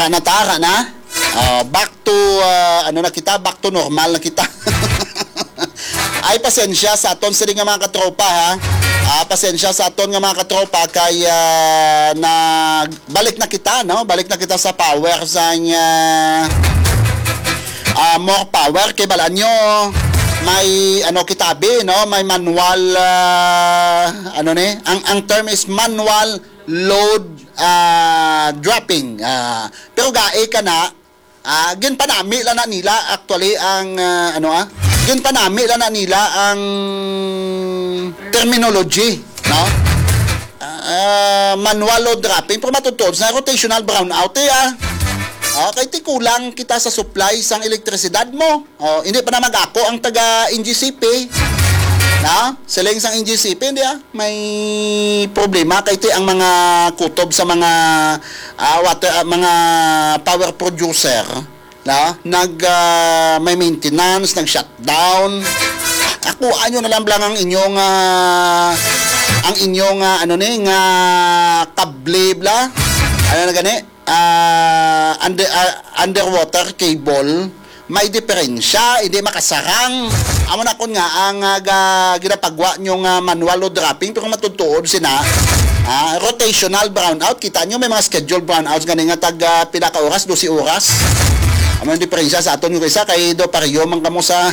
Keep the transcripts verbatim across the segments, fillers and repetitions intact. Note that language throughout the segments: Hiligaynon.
Natara na. Ah, back to, ah, ano na kita, back to normal na kita. Ay, pasensya sa aton sini nga mga katropa, ha. Ah, pasensya sa aton nga mga katropa kay, ah, na balik na kita, no? Balik na kita sa power sa, ah, ah, more power kay balaan nyo may ano kita bi, no? May manual, ah, ano ni? Ang ang term is manual load, ah, dropping. Ah, pero gae ka na, ah, ginpanami lang na nila actually ang, ah, ano, ah, ginpanami lang na nila ang terminology, no? Ah, manual load dropping, pero matutuod sa rotational brownout, eh, ah. Ah, kay ti kulang kita sa supply sang elektrisidad mo. Oh, hindi pa na mag-ako ang taga N G C P. Na? Siling sang N G C P, hindi, ah. May problema kay ti ang mga kutob sa mga, ah, water, ah, mga power producer, na? Nag, ah, may maintenance, nag-shutdown. Ako, ano na lang lang ang inyong, ah, ang inyong, ah, ano ni, nga kable, bla? Ano na gani? Ah, under, ah, underwater cable, may diferensya, hindi makasarang. Amo na kun nga ang, ah, ga-, ginapagwa nyo nga manual load dropping, pero matutuod sina, ah, rotational brownout. Kita nyo, may mga scheduled brownouts gani nga tag, ah, pila ka oras, dose oras. Amo ang diferensya sa aton nga isa, kay do pareho man kamo sa,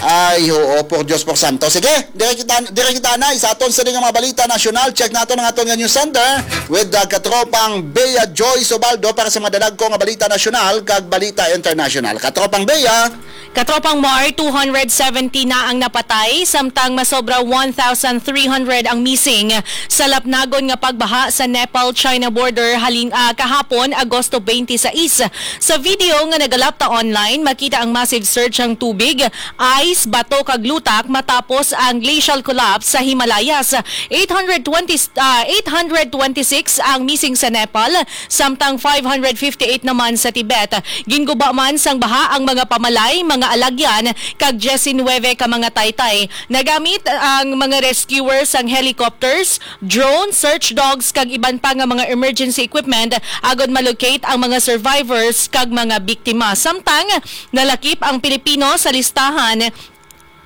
ay, oo, por Dios, por santo. Sige, dire kita, dire kita na, sa aton sa mga balita nasyonal, check nato ang aton nga news center with, ah, katropang Bea Joy Sobaldo para sa mga dalagko nga balita nasyonal kag balita internasyonal. Katropang Bea. Katropang Mar, two hundred seventy na ang napatay, samtang masobra one thousand three hundred ang missing sa lapnagon nga pagbaha sa Nepal-China border halin-, ah, kahapon, Agosto twenty-six. Sa video nga nagalapta online, makita ang massive surge sang tubig, ice, bato kag lutak matapos ang glacial collapse sa Himalayas. Eight hundred twenty, ah, eight hundred twenty-six ang missing sa Nepal, samtang five hundred fifty-eight naman sa Tibet. Ginguba man sang baha ang mga pamalay, mga alagyan, kag diecinuebe ka mga taytay. Nagamit ang mga rescuers sang helicopters, drone, search dogs, kag iban pa nga mga emergency equipment agod ma-locate ang mga survivors kag mga biktima. Samtang nalakip ang Pilipino sa listahan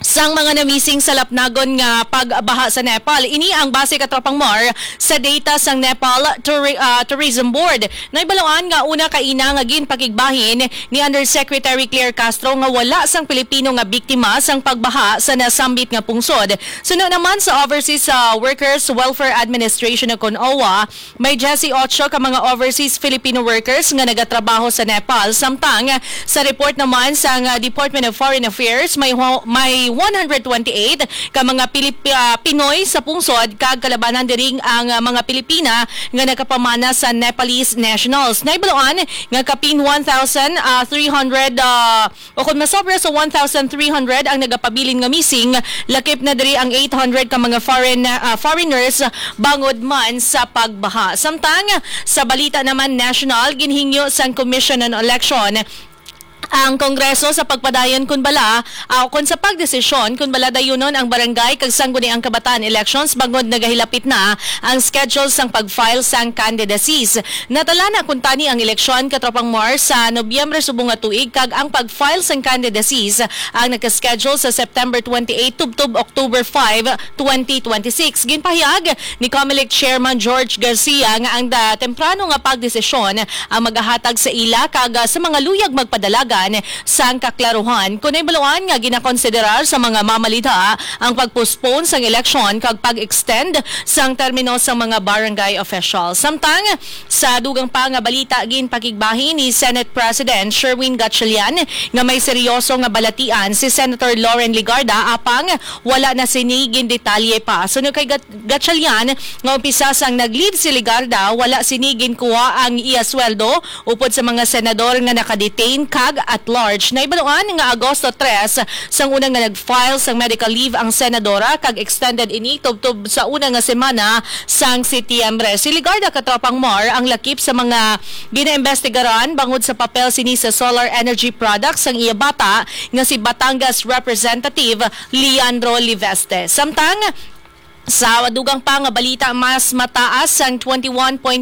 sang mga na-missing sa lapnagon nga pagbaha sa Nepal. Ini ang base, katropang Mar, sa data sang Nepal Touri-, ah, Tourism Board. Nahibaluan nga una kaina nga ginpakigbahin ni Undersecretary Claire Castro nga wala sang Pilipino nga biktima sang pagbaha sa nasambit nga pungsod. Suno naman sa Overseas, ah, Workers Welfare Administration o kon owa, may diyesyocho ka mga overseas Filipino workers nga nagatrabaho sa Nepal. Samtang sa report naman sang, ah, Department of Foreign Affairs, may ho-, may one hundred twenty-eight ka mga Pilip-, ah, Pinoy sa pungsod kag kalabanan diri ang, ah, mga Pilipina nga nagapamana sa Nepalese nationals. Nahibaluan nga kapin one thousand, ah, three hundred, ah, o kon masobra sa one thousand three hundred ang nagapabilin nga missing, lakip na diri ang eight hundred ka mga foreign, ah, foreigners bangod man sa pagbaha. Samtang sa balita naman national, ginhingyo sang Commission on Election ang Kongreso sa pagpadayon kun bala, ah, kon sa pagdesisyon kun bala dayunon ang barangay kag sangguniang kabataan elections bangod nagahilapit na ang schedule sang pag-file sang candidacies. Natala na kuntani ang eleksyon, katropang Mar, sa Nobyembre subong nga tuig, kag ang pag-file sang candidacies ang nagka-schedule sa September twenty-eight tubtob October five, twenty twenty-six. Ginpahayag ni Comelec Chairman George Garcia nga ang da-, temprano nga pagdesisyon ang magahatag sa ila kag, ah, sa mga luyag magpadalagan sang kaklaruhan. Kon nahibaluan nga ginakonsiderar sa mga mamalidha ang pag-postpone sang eleksyon kag pag-extend sang termino sang mga barangay official. Samtang sa dugang pa nga balita, ginpakigbahin ni Senate President Sherwin Gatchalian nga may seryoso nga balatian si Senator Loren Legarda, apang wala na sini gindetalye pa. Suno kay Gat-, Gatchalian, nga umpisa sang nag-leave si Legarda, wala sini ginkuha ang iya sweldo upod sa mga senador nga naka-detain kag at large. Nahibaluan nga Agosto tres sang una nga nag-file sang medical leave ang senadora, kag extended ini tubtob sa una nga semana sang Setyembre. Si Legarda, katropang Mar, ang lakip sa mga ginaimbestigaran bangod sa papel sini sa solar energy products sang iya bata nga si Batangas Representative Leandro Leviste. Samtang sa dugang pa nga balita, mas mataas sang twenty-one point